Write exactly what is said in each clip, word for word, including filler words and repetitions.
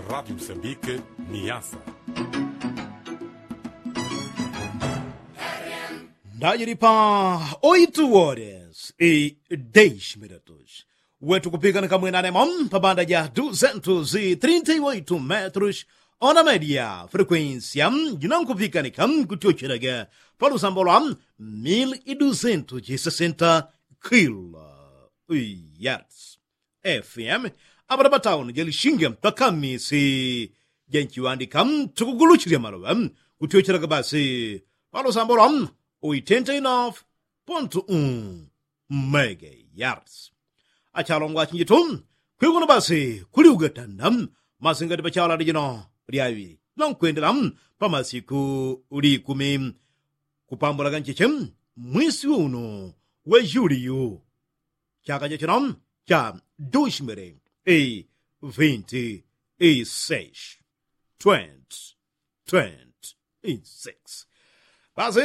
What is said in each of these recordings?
Rádio Moçambique, Niassa. Ndajili pa oitu wores i deix minutos. Wetu kupikanika mwenanemo pa banda ja duzentos i trinta i oitu metros, ona media frequência, jinankupikanika kutyochelaga pa lusambo lwa mil i duzentos i sesenta kilo yards. F M, apata pa tauni ja lishinge pakamisi ja nchiŵandika tukuguluchilya maloŵe kutyochelaga basi pa lusambo lwa oitenta i nofu pontu un megayards. Achalongwa achinjitu, kwikuno basi kuli ugatanda masingati pa chala lijino lyaŵi lankwendela pa masiku likumi kupambulaga ncheche mwisi unu wa juliyu. Chaka cha chino cha dushimili i vinti i seis, twenty twenty six. Basi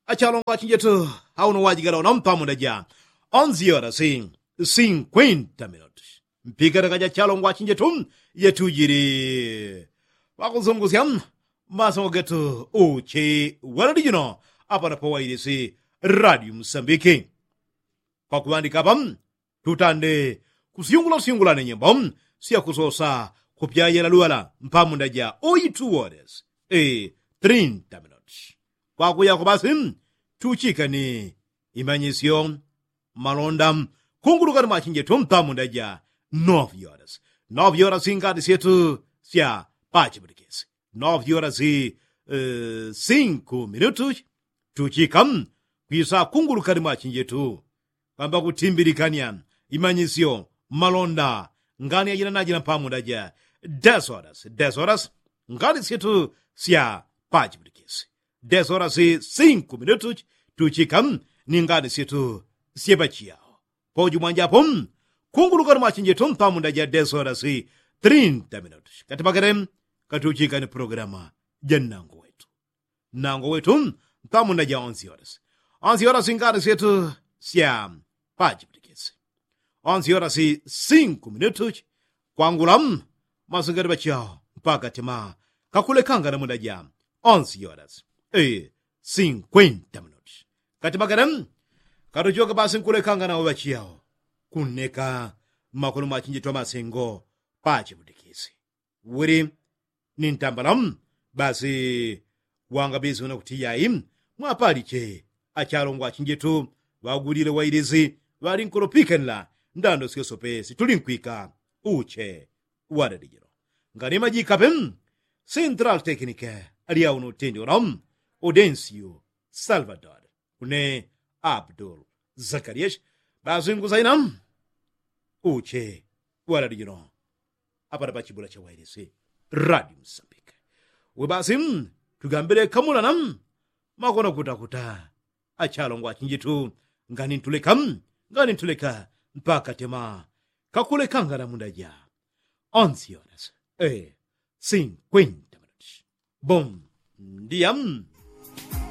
achalongwa achinjetu, auno wajigala uno mpamunda ja onzi horas i sinkwenta minutos. Mpikataka ja chalongwa achinjetu yetujili pakuzungusya masongo getu uche walali jino apana pa wailisi radio musambiki. Pakuŵandika apa tutande kusyungulasyungulane nyimbo syakusosa kupyayela lwala mpamunda ja oitu woles i trinta minutos. Kwakuyako basi tuchikani imanyisyo malonda kungulukani mwachinjetu mpamunda ja novi horas. Novi horas ingati syetu sya pachiputikisi novi horas i sinku minutos. Tuchika kwisa kungulukani mwachinjetu kwamba kutimbilikanya imanyisyo malonda ngani yajina najina mpamunda ja desoras desoras ngani syetu sya pachiputikisi desoras i sinku minutos. Tuchika ni ngani syetu syepachiyawo poju mwanjapo kungulukani mwachinjetu mpamunda ja desoras i trinta minutos katipakele katuchika ni programa ja nnango wetu. Nnango wetu mpamunda ja onzi horas. Onzi horas ngani syetu sya pachiputikisi onzi horas i sinku minutos kwangula masingati pachiyawo mpaka tima kakulekangana munda ja onzi horas i sinkwenta minutos. Katimakene katuchoka basi nkulekangana wapachiyawo kunneka mmakono mwachinjetu amasengo pachiputikisi wili ni ntambala. Basi wangabisi una kuti yayi mwapaliche achalongwa achinjetu ŵagulile wailisi ŵalinkulopikanila ndando syosope situlinkwika uche wadadijilo. Ngani majikape central teknike alyauno utendi uno udensiu salvador une abdul zakarias bazinguzaina uche walali jino apata pachibula chawailisi radio msambike. We basi tugambile kamulana makona kutakuta achalongwa achinjitu ngani ntuleka ngani ntuleka mpaka tema kakulekangana mundaja onsi yonas e sinkwenta minuti. Bom dia.